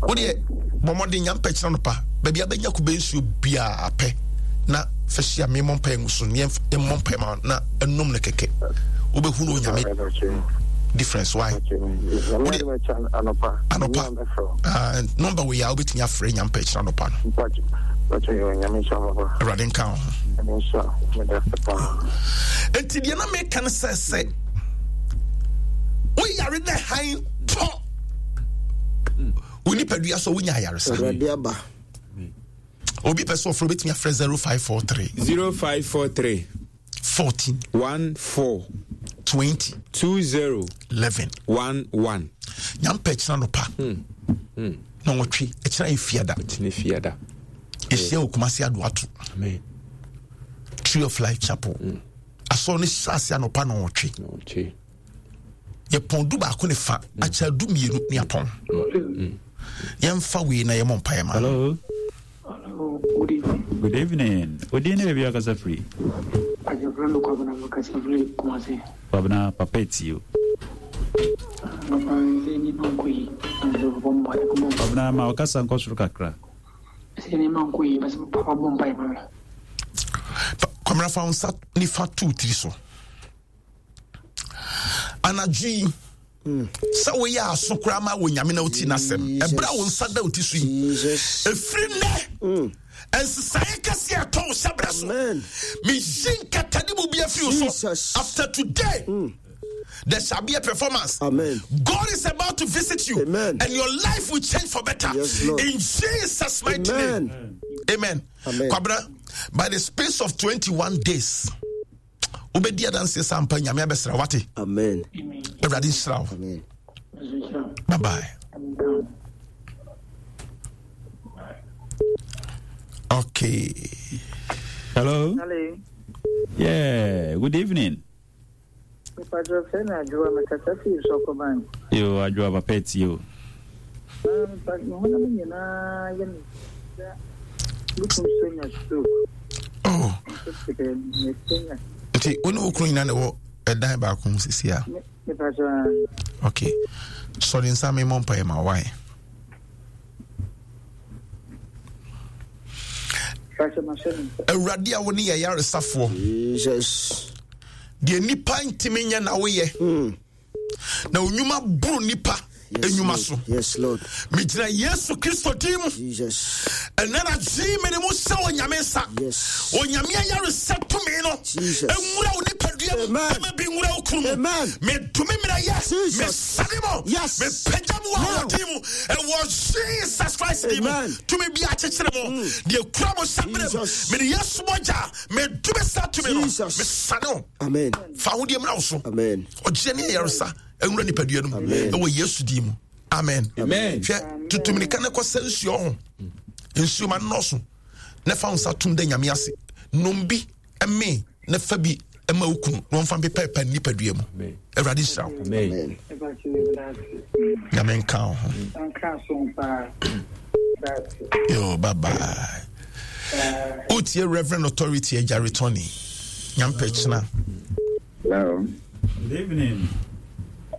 Wodeɛ bɔ mmɔden nya mpɛ kyerɛ no pa. Baabi abɛnya kube nsuo biara pɛ na fa hyia me mmɔ mpae ngu so ne yɛmmɔ mpae ma na ɛnom no kɛkɛ. Wobɛhunu Onyame difference why? Wodeɛ anɔpa anɔpa ah, number wei a wobɛtumi afrɛ nya mpɛ kyerɛ anɔpa no. Awurade nka wo ho. Enti deɛ na meka no sɛ sɛ woyare na hann tɔ wo nipadua so wonya ayaresa. Awurade aba. Obi pɛ sɛ ɔfrɛ wobɛtumi afrɛ zero five four three zero five four three fourteen one four twenty two zero eleven one one. Nyampɛ kyena nɔpa na wɔtwe ɛkyena yɛ fiada. Kyene fiada. Yɛhyia wɔ Kumase Adoato. Amen. Tree of Life Chapel. Asɔre no hyɛ ase anɔpa na wɔtwe. Ɔtwe. Yɛpɔn du baako ne fa akyɛ du mmienu ne apɔn. Yɛmfa wei na yɛmmɔ mpaeɛ ma no. Hello. Hello, good evening. Good evening. Odin ne baabi a ɔkasa firi? Ajafra no Kwabena Makasa firi Kumasi. Kwabena, papa etie o. Papa, sɛ nneɛma nkɔ yi, na sɛ papa bɔ mpaeɛ bɔ Kwabena, ma ɔkasa nkɔ soro kakra. Sɛ nneɛma nkɔ yi, bɛsɛ papa bɔ mpaeɛ ma me. Fa- Kwamina, fa wo nsa nifa to wo tiri so anadwo yi sɛ woyɛ aso koraa ma wɔ Nyame na woti n'asɛm ɛberɛ a wo nsa da wo ti so yi. Jesus. Ɛfiri nnɛ, ɛnsesaeɛ kɛseɛ ɛtɔ wo hyɛberɛ so. Amen. Meyi nkatade mu bi afiri wo so. Jesus. After today, there shall be a performance. Amen. God is about to visit you. Amen. And your life will change for better. Yes, Lord. In Jesus' mighty Amen. name. Amen. Amen. Kwabra, by the space of twenty-one days, wobɛdi adanseɛ sɛ ampa Nyame abɛsra wate. Amen. Amen. Awurade nhyira wo. Amen. Bye bye. Amen. Okay. Hello. Hello. Yeah, good evening. Mepa frɛ me Adwoa, mekasa fii Sɔkɔban. Yo, Adwoa, papa etie o. Mepa me honam nyinaa yɛ me ya. Me kunu so nya stroke. Oh. Nso sɛ mesenya. Nti wo ne wo kunu nyinaa na ɛwɔ ɛdan baako mu sisi a? Mepa kyɛ. Okay. Sɔre nsa me mmɔ mpaeɛ ma wae. Pakyɛ mahyɛ me nsa. Awurade a wo ne yɛ yaresafoɔ. Jesus. Deɛ nipa ntumi nyɛ na woyɛ. Na onwuma boro nipa enwuma so. Yes, Lord. Megyina Yesu Kristo din mu. Jesus. Ɛnɛ na gyee me ne mu sɛ Onyame nsa. Yes. Onyame ayaresɛ tumi no Jesus. ɛnwura wo nipadua mu. Amen. Ɛma bi nwura wo kunu mu. Amen. Medome mmerɛyɛ. Jesus. Mesane mo. Yes. Mepagya mu wɔ Now. ahoɔden mu ɛwɔ Jesus Christ din mu. Amen. Tumi bi akyekyere mo deɛ kura mo hyɛ berɛ mu, Jesus. mede Yesu mogya medome saa tumi no. Jesus. Mesane wo. Amen. Fa ahodeɛ mmra wo so. Amen. Ɔgyeɛ ne ayaresa ɛnwura nipadua no mu ɛwɔ Yesu din mu, amen. Amen. Hwɛ, tutumirika ne kɔsɛ nsuo ho nsuo ma nnɔɔso na fa wo nsa tom da Nyame ase, nom bi ɛme na fa bi ɛma wo kunu na ɔmfa mpepɛpɛ nipadua mu. Awurade nhyira wo. Amen. Amen. Mepa kyɛ meda ase. Nyame nka wo ho. Anka so paa. Meda ase. Yo, bye bye. Wotie Reverend Authority Agyare Tony. Nyampɛ kyena. Hello. Good evening.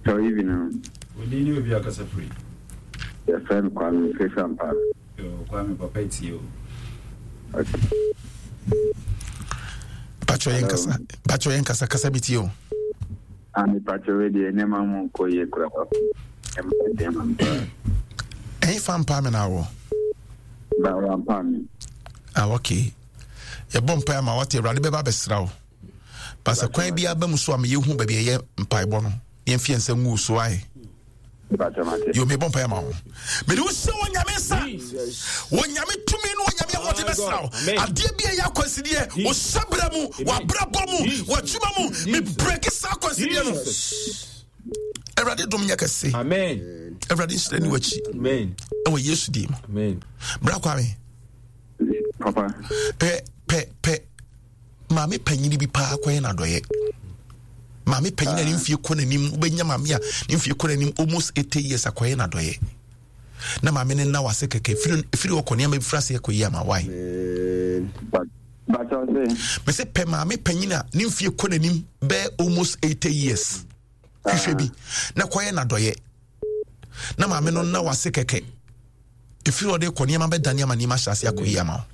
So evening. Odin ne baabi a ɔkasa firi? Yɛfrɛ me Kwame Fefampa. Yo, Kwame, papa etie o. Okay. Patwɛ yɛn kasa, patwɛ yɛn kasa, kasa bi tie o. Ah, mepakyɛ wei deɛ, nneɛma mu nkɔ yie kora papa. Ɛma ɛdɛn ma me paa. Ɛyɛ fa mpa me na awɔ? Ba wampa me. Ah, okay, yɛbɔ mpae ama wate. Awurade bɛba abɛsra wo pasɛ kwan bi aba mu so a meyɛhu baabi a ɛyɛ mpaebɔ no, yɛmfi yɛn nsa ngu wo so ayɛ. Mepakyɛ mate. Yo, mebɔ mpae ama wo, mede wo hyɛ wɔ Nyame nsa, wɔ Nyame tumi no, wɔ Nyame ahoɔden bɛsra wo. Amen. Adeɛ bi a ɛyɛ akwansideɛ wo hyɛberɛ mu, w'abrabɔ mu, w'adwuma mu, mebrɛke saa akwansideɛ no. Awurade dom nyɛ kɛse. Amen. Awurade nhyira ni w'akyi. Amen. Ɛwɔ Yesu din mu. Amen. Bra Kwame. Papa. Pɛ pɛ pɛ maame panyini bi paa kɔyɛ n'adɔyɛ. Maame panyini a ne mfie kɔ n'anim wobɛnya maame a ne mfie kɔ n'anim almost eighty years akɔyɛ n'adɔyɛ. Na maame no nna wase kɛkɛ firi firi ɔkɔ nneɛma bi firi ase ɛkɔ yi ama wae. Mese pɛ maame panyin a ne mfie kɔ n'anim bɛɛ almost eighty years hwehwɛ bi na kɔyɛ n'adɔyɛ na maame no nna wase kɛkɛ ɛfiri ɔde kɔ nneɛma bɛdane ama nneɛma ahyɛ ase akɔ yi ama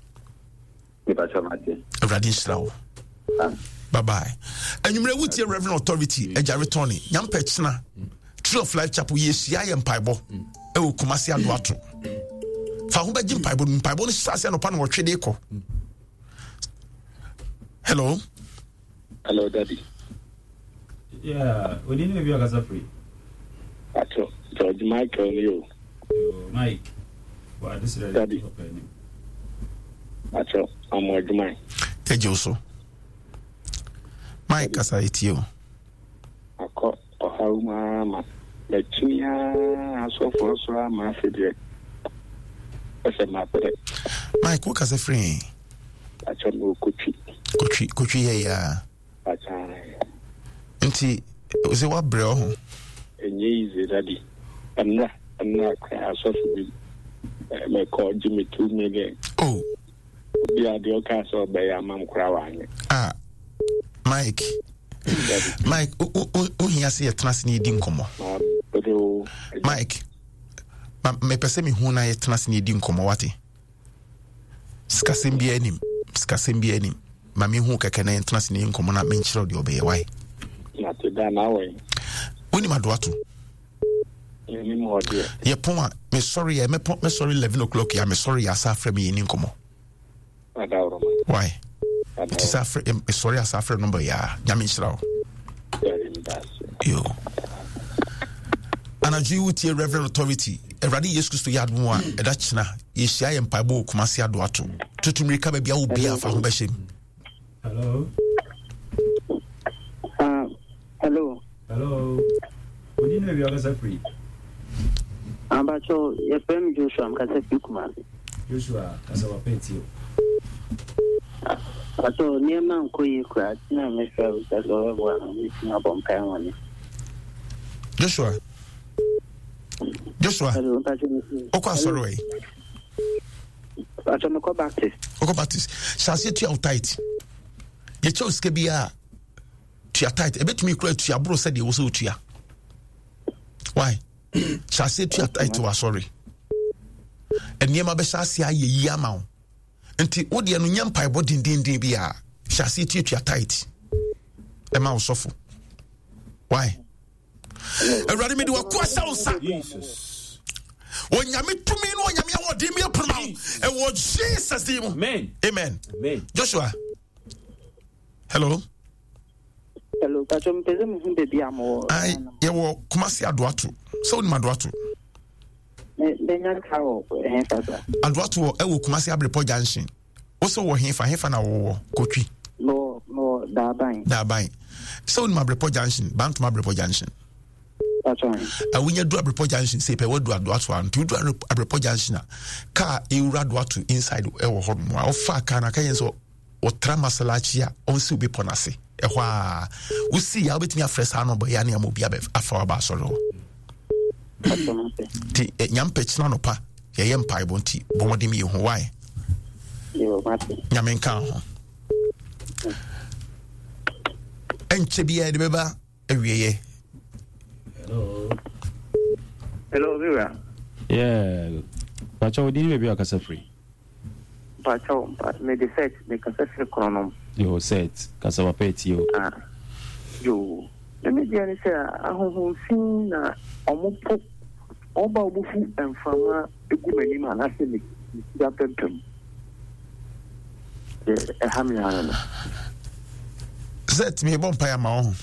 wo. Awurade nhyira wo. Bye bye. Anwummerɛ wotie Reverend Authority agya retɔne nyampɛ kyena Tree of Life Chapel yɛhyia yɛ mpaebɔ ɛwɔ Kumasi Adoato. Fa ho bɛgye mpaebɔ no mpaebɔ no hyɛ ase anɔpa na wɔtwe de kɔ. Hello. Hello, Daddy. Yeah, odi ni ebi akasa free. Ato, George Michael ni o. Yo, Mike. Wa this ready. Daddy. Ato, amo adwuma. Yɛgye wo so. Mike kasa etie o. Akɔ ɔhaw mu ara ma makyini ara asɔfoɔ so ara ma afe deɛ ɛsɛ mabrɛ. Mike wo kasa firi he? Akyɛ me kotwi. Kotwi kotwi yɛ ya. Akyɛ. Nti sɛ wabrɛ ɔho. Ɛnyɛ easy daddy. Ɛnna ɛnna koraa asɔfo bi mɛkɔ gye me two million. Oh. Obi a deɛ ɔkaa sɛ ɔbɛyɛ ama m koraa wanyɛ. Ah Mike. Mike wohia sɛ yɛtena ase ne yɛdi nkɔmmɔ. Mike mepɛ sɛ mehu na yɛtena ase ne yɛdi nkɔmmɔ wate. Sikasɛm biara nim sikasɛm biara nim ma mehu kɛkɛ na yɛntena ase ne yɛ nkɔmmɔ na menkyerɛ deɛ ɔbɛyɛ wae. Wonim adoato? Yɛpɔn a mesɔre yɛ mɛpɔn mɛsɔre eleven o'clock yɛ a mesɔre yɛ asa afrɛ me yɛni nkɔmmɔ. Why? Nti sɛ afrɛ mesɔre asa afrɛ nɔmba yɛ a nyame nhyira wo. Yo. Anadwo yi wotie Reverend Authority Awurade Yesu Kristo yɛ adom a ɛda kyena yɛhyia yɛ mpaebɔ wɔ Kumasi Adoato. Tutu mmirika baabi a wo bia fa ho bɛhyɛ mu. Hello. Uh, hello. Hello. Odi na ewia kasa firi. Abacho, yɛfrɛ me Joshua, mkasa firi Kumasi. Joshua, kasa wapɛ tie o. Abacho, nneɛma nkɔ yie koraa, nti na mefrɛ wo sɛ sɛ ɔbɛboa me, mɛtumi abɔ mpae wɔ ne. Joshua. Joshua. Hello, mpacho me. Okɔ asɔre wɔ yi. Mpacho mekɔ Baptist. Okɔ Baptist. Hyɛ aseɛ tua wo tight. Yɛkyɛ wo sika biara tua tight. Ɛbɛtumi kura tua boro sɛdeɛ wo sɛ wotua. Why? Hyɛ aseɛ tua tight wɔ asɔre. Nneɛma bɛhyɛ aseɛ ayɛ yie ama wo. Nti wo deɛ no nyɛ mpaebɔ dendenden bi a hyɛ aseɛ tuatua tight ɛma wo sɔfo. Why? Awurade mede wakoa hyɛ wo nsa. Onyame tumi ne onyame ahoɔden mi aponoma wo ɛwɔ Jesus din mu. Amen. Amen. Amen. Joshua. Hello. Hello, Pacho, mepɛ sɛ mehu baabi a mowɔ. Ai, yɛwɔ Kumasi Adoato. Sɛ wonim Adoato? Menya ka wɔ hefa sa? Adoato wɔ ɛwɔ Kumasi Abrepɔ Junction. Wo sɛ wɔ hefa hefa na wowɔ Kotwi? Mewɔ mewɔ Daaban. Daaban. Sɛ wonim Abrepɔ Junction, Bantom Abrepɔ Junction. Pacho. Wonya du Abrepɔ Junction sɛ pɛ wadu Adoato a nti wodu Abrepɔ Junction a kaa ɛwura Adoato inside ɛwɔ hɔ nom a wofa kaa no aka yɛn sɛ ɔtra masalachi a ɔnsiw bepɔ no ase ɛhɔ a wosi a wobɛtumi afrɛ saa nɔbɔ yɛ ne ama obi afa waba asɔre hɔ nti eh, nyampɛ kyena nɔpa yɛyɛ mpaebɔ nti bɔ mmɔden yɛ hu wae nyame nka ho ɛnkyɛ biara de bɛba awieɛ. Hello. Hello, Mira. Yeah. Pacho, wo din baabi a kasa firi? Pacho, me de set, me kasa firi Kronom. Yo, set, kasa papa etie o. Ah. Yo. Me me deɛ ne sɛ ahonhom fi na ɔmo po ɔmo ba ɔmo fu mframa egu m'anim anaasɛ me me tiri apampam. Deɛ ɛha me ara no. Zet mebɔ mpaeɛ ama wo ho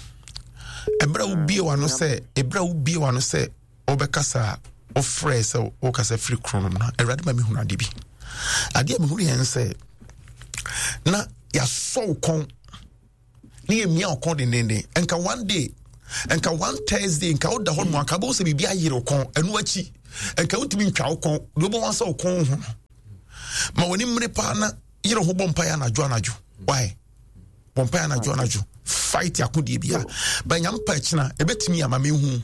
ɛberɛ a wobie w'ano sɛ ɛberɛ a wobie w'ano sɛ wobɛkasa a wofrɛ sɛ wokasa firi kronom no awurade ma mehunu ade bi adeɛ a mehunu yɛn sɛ na yɛasɔ wo kɔn ne yɛmia wo kɔn dendenden nka one day Nka one Thursday nka woda hɔ nom anka bɛhu sɛ biribi ayere wo kɔn. Ɛno akyi nka wontumi ntwa wo kɔn. Deɛ wobɛhu sɛ wo kɔn ho no. Ma w'ani mmere paa na yere ho bɔ mpaeɛ anadwo anadwo. Why? Bɔ mpaeɛ anadwo anadwo. Fight akodie bia. Ba nyame pa akyina ɛbɛtumi ama mehu.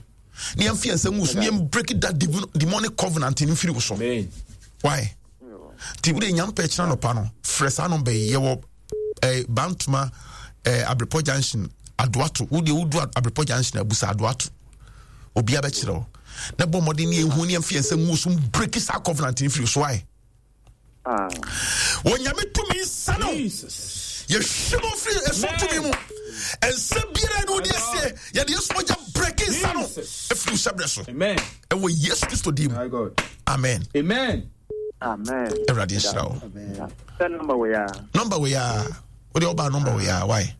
Ne yɛmfa yɛn nsa ngu so ne yɛn break that demonic covenant no mfiri wo so. Why? Nti wode nyame pa akyina nɔpa no frɛ saa nɔmba yi yɛwɔ eh, Bantoma eh, Abrepɔ Junction Adoato. Wode wodu Abrepɔ Junction abusa Adoato. Obiara bɛkyerɛ wo. Na bɔ mmɔden ne yɛhu ne yɛmfa yɛn nsa ngu so break saa covenant no mfiri so. Why? Onyame tumi nsa no yɛhwe mu firi ɛso tumi mu ɛnsa biara ne wode asie yɛde yesu mogya brɛke nsa no ɛfiri wo hyɛberɛ so ɛwɔ Yesu Kristo din mu. Amen. Awurade nhyira wo. Nɔmba wei a wode ɔbaa nɔmba wei a wae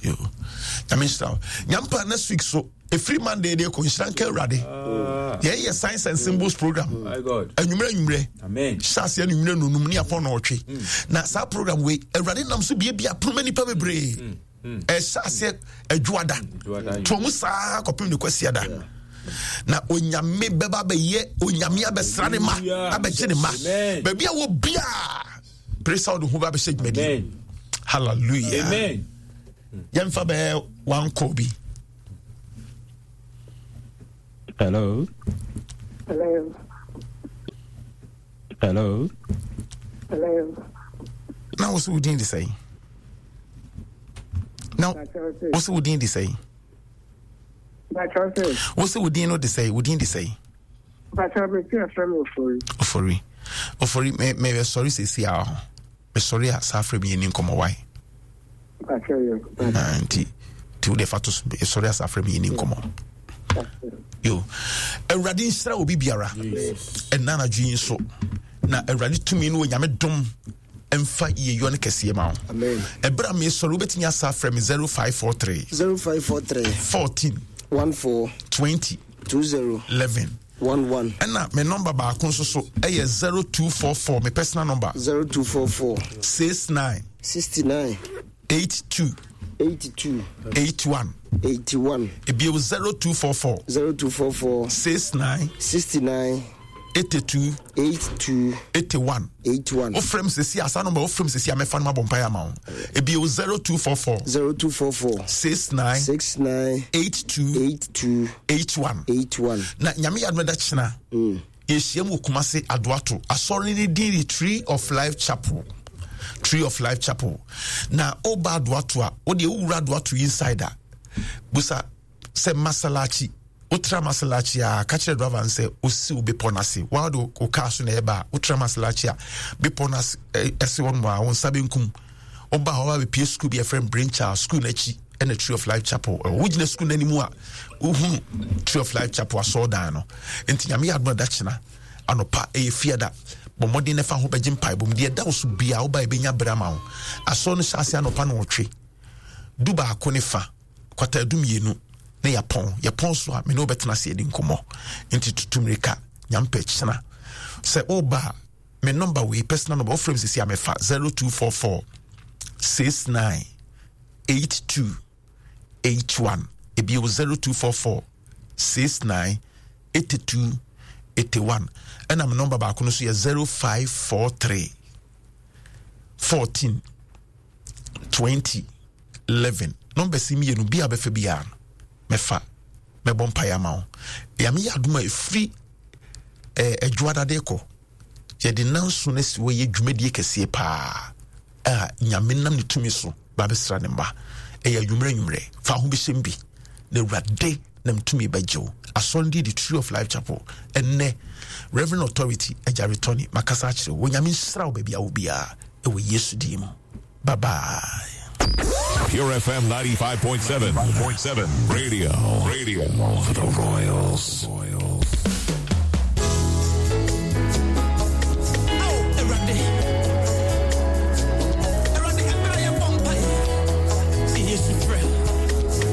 nyame nhyira wo. Nyampa next week so ɛfiri Monday de kɔ nhyira nka Awurade. Yɛyɛ Signs and Symbols program anwummerɛ anwummerɛ hyɛ aseɛ anwummerɛ nonum ne apɔn na ɔtwe. Na saa program wei Awurade nam so biabia ponoma nnipa bebree. Ɛhyɛ aseɛ adwoada toɔ mu saa kɔpem ne kwasiada. Na Onyame bɛba bɛyɛ Onyame abɛsra ne ma abɛgye ne ma baabi a wɔ biaa pere sɛ wode ho ba bɛhyɛ dwumadi. Hallelujah. Yɛmfa bɛyɛ one call bi. Hello. Hello. Hello. Hello. Na wo so wo din de sɛn? Na wo so wo din de sɛn? Wo so wo din no de sɛn? Wo din de sɛn? Ofori. Ofori. Ofori me me sɔre sɛsi a ho. Me sɔre a saa frɛ me yɛ ni nkɔmmɔ wae. Nti nti wo de fa to so sɔre a saa frɛ me yɛ ni nkɔmmɔ. Yo. Awurade nhyira obi biara. Ɛnna anadwo yi nso na Awurade tumi no Onyame dom mfa yiyeyɔ no kɛseɛ ma wo. Ɛberɛ a mesɔre wobɛtumi asa frɛ me zero five four three zero five four three fourteen one four twenty two zero eleven one one. Ɛna me nɔmba baako nso so ɛyɛ zero two four four me personal number zero two four four six nine sixty nine eight two eighty two eight one eighty one. Ebio zero two four four zero two four four six nine sixty nine eighty two eight two eighty one eighty one. Ofrem sisi asa number ofrem sisi amefa no mabɔ mpaeɛ ama wo. Ebio zero two four four zero two four four six nine six nine eight two eight two eight one eight one. Na nyame yɛ adom da kyena yɛhyia mu wɔ Kumase Adoato asɔre ne din de Tree of Life Chapel. Tree of Life Chapel. Na woba Adoato a wode wowura Adoato inside a busa sɛ Masalachi wotra Masalachi a ka kyerɛ driver no sɛ osi wo bepɔ no ase wa wode wo kaa so na ɛba a wotra Masalachi a bepɔ no ase ɛse hɔ nom a wo nsa benkum woba hɔ ba bɛpie school bi ɛfrɛ Brain Child school no akyi ɛna Tree of Life Chapel. Wogyina school no anim a wohunu Tree of Life Chapel asɔɔdan no. Nti nyame yɛ adom da kyena anɔpa ɛyɛ fiada bɔ mmɔden na fa ho bɛgye mpaebɔ mu deɛ ɛda wo so bia woba ɛbɛnya berɛ ama wo. Asɔre no hyɛ ase anɔpa no ɔtwe du baako ne fa kwata du mmienu na yɛpɔn yɛpɔn so a me ne wobɛtena ase adi nkɔmmɔ. Nti tutu mmirika nyampɛ kyena sɛ woba a me number wei personal number wofrɛ me sisi a mefa zero two four four six nine eight two eight one ebio zero two four four six nine eight two eight one ɛna me number baako no so yɛ zero five four three fourteen twenty eleven. Number si mmienu bi a bɛfɛ biara no mɛfa mɛbɔ mpaeɛ ama wo. Yame yɛ adom a ɛfiri adwoadade kɔ yɛde nanso no asi hɔ yɛ dwumadie kɛseɛ paa a nyame nam ne tumi so ba bɛsra ne mma. Ɛyɛ anwummerɛ anwummerɛ fa ho bɛhyɛm bi na Awurade nam tumi bɛgye wo. Asɔre de Tree of Life Chapel ɛnnɛ Reverend Authority Agyare Tony makasa akyerɛ wo. Nyame nhyira wo baabi a wo biara ɛwɔ Yesu din mu. Bye bye. Pure F M ninety-five point seven. Radio, radio for the Royals.